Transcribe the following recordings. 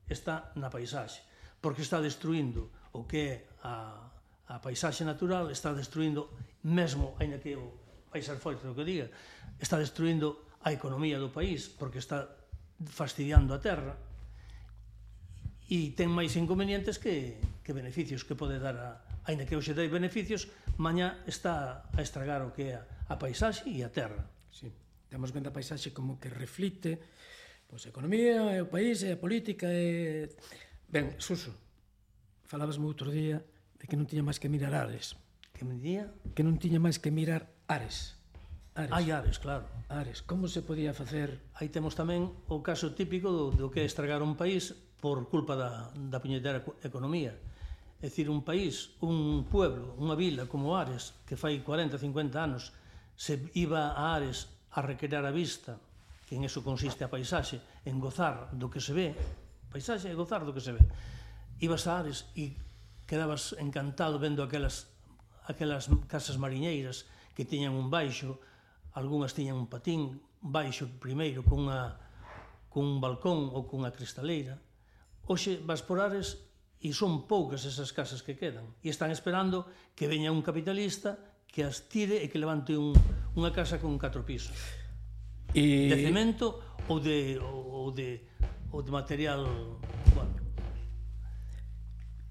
está na paisaxe, porque está destruindo o que é a paisaxe natural, está destruindo mesmo, aínda que vai ser forte o que diga, está destruindo a economía do país, porque está fastidiando a terra, e ten máis inconvenientes que beneficios que pode dar aínda que hoxe dai beneficios, mañá está a estragar o que é a paisaxe e a terra. Sí. Temos vendo a paisaxe como que reflite a economía, o país, a política. Ben, Suso, falabasme outro día de que non tiña máis que mirar Ares. Que me día? Que non tiña máis que mirar Ares. Hai Ares, claro. Ares, como se podía facer? Aí temos tamén o caso típico do que é estragar un país por culpa da puñetera economía. É dicir, un país, un pueblo, unha vila como Ares, que fai 40, 50 anos, se iba a Ares a recrear a vista, que en eso consiste a paisaxe, en gozar do que se ve, paisaxe é gozar do que se ve. Ibas a Ares e quedabas encantado vendo aquelas casas mariñeiras que tiñan un baixo, algunhas tiñan un patín, baixo primeiro cun balcón ou cunha cristaleira. Hoxe vas por Ares e son poucas esas casas que quedan e están esperando que veña un capitalista que as tire e que levante unha casa con 4 pisos de cemento ou de material. Bueno.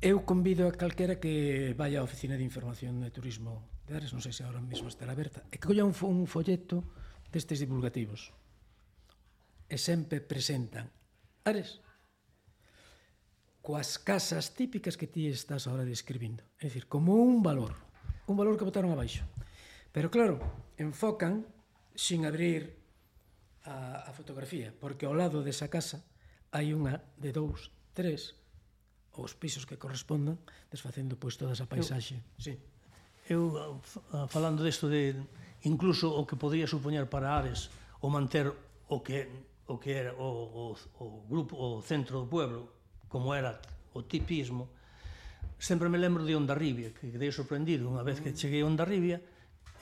Eu convido a calquera que vaya á Oficina de Información de Turismo de Ares, non sei se agora mesmo estará aberta, e que colla un folleto destes divulgativos e sempre presentan Ares coas casas típicas que ti estás agora describindo, é dicir, como un valor que botaron abaixo, pero claro, enfocan sin abrir a fotografía, porque ao lado desa casa hai unha de 2, 3 os pisos que correspondan, desfacendo pois toda esa paisaxe. Eu falando desto de incluso o que podría supoñer para Ares o manter o que era o grupo, o centro do pueblo, como era o tipismo, sempre me lembro de Hondarribia, que quedei sorprendido unha vez que cheguei a Hondarribia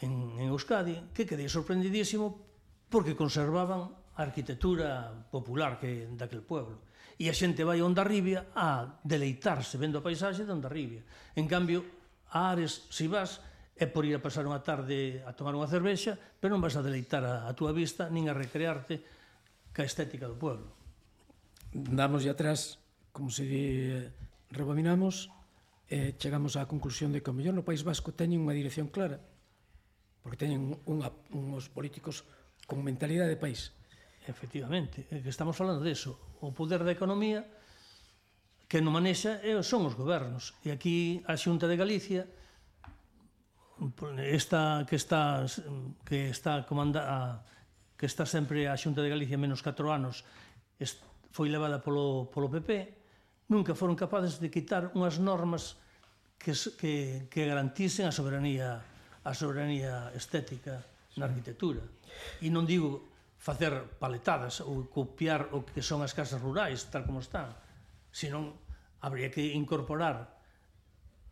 en Euskadi, que quedei sorprendidísimo porque conservaban a arquitectura popular daquel pueblo. E a xente vai a Hondarribia a deleitarse vendo a paisaxe de Hondarribia. En cambio, a Ares, se vas, é por ir a pasar unha tarde a tomar unha cervexa, pero non vas a deleitar a túa vista nin a recrearte ca estética do pueblo. Damos atrás, como se rebobinamos, chegamos á conclusión de que o mellor no País Vasco teñen unha dirección clara, porque teñen uns políticos con mentalidade de país. Efectivamente, que estamos falando deso. O poder da economía que non manexa son os gobernos. E aquí a Xunta de Galicia, que está sempre a Xunta de Galicia menos 4 anos, foi levada polo PP, nunca foron capaces de quitar unhas normas que garantisen a soberanía estética na arquitectura. E non digo facer paletadas ou copiar o que son as casas rurais, tal como están, senón habría que incorporar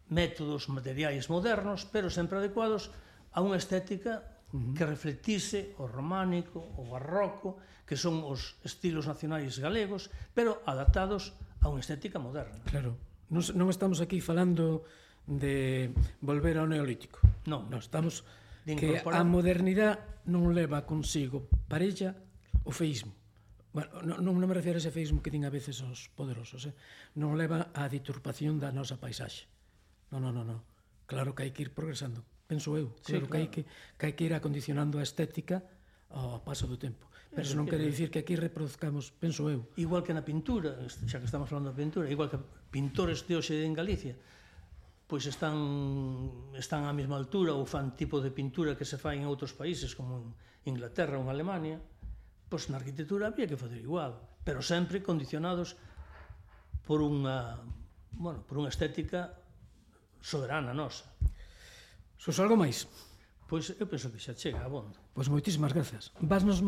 métodos materiais modernos, pero sempre adecuados a unha estética que reflectise o románico, o barroco, que son os estilos nacionais galegos, pero adaptados a unha estética moderna. Claro, non estamos aquí falando de volver ao neolítico. Non, estamos que a modernidade non leva consigo parella o feísmo. Bueno, non me refiero a ese feísmo que din a veces os poderosos, non leva a deturpación da nosa paisaxe. Non. Claro que hai que ir progresando, penso eu. Claro que hai que ir acondicionando a estética ao paso do tempo. Pero eso non quere dicir que aquí reproduzcamos, penso eu. Igual que na pintura, xa que estamos falando de pintura, igual que pintores de hoxe en Galicia, pois están á mesma altura ou fan tipo de pintura que se fai en outros países como en Inglaterra ou en Alemania, pois na arquitectura había que fazer igual, pero sempre condicionados por unha estética soberana nosa. Sos algo máis? Pois eu penso que xa chega, abondo. Pois moitísimas grazas. Vasnos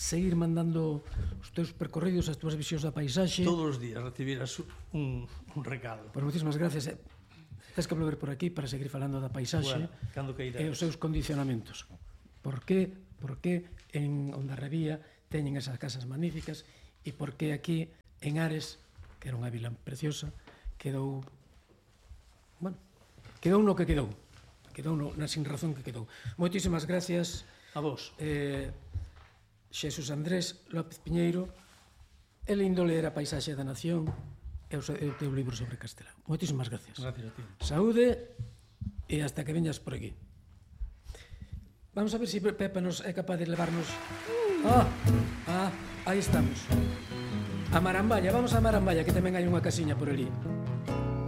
seguir mandando os teus percorridos, as túas visións da paisaxe. Todos os días recibirás un recado. Pois moitísimas grazas. Tens que volver por aquí para seguir falando da paisaxe e os seus condicionamentos. Por que en Hondarribia teñen esas casas magníficas e por que aquí en Ares, que era unha vila preciosa, quedou, bueno, quedou no que quedou, na sin razón que quedou. Moitísimas gracias a vos. Xesús Andrés López Piñeiro, é lindo ler A paisaxe da nación e o teu libro sobre Castelao. Moitísimas gracias. Gracias a ti. Saúde e hasta que veñas por aquí. Vamos a ver se Pepa nos é capaz de levarnos... aí estamos. A Maramballa, vamos a Maramballa, que tamén hai unha casiña por ali.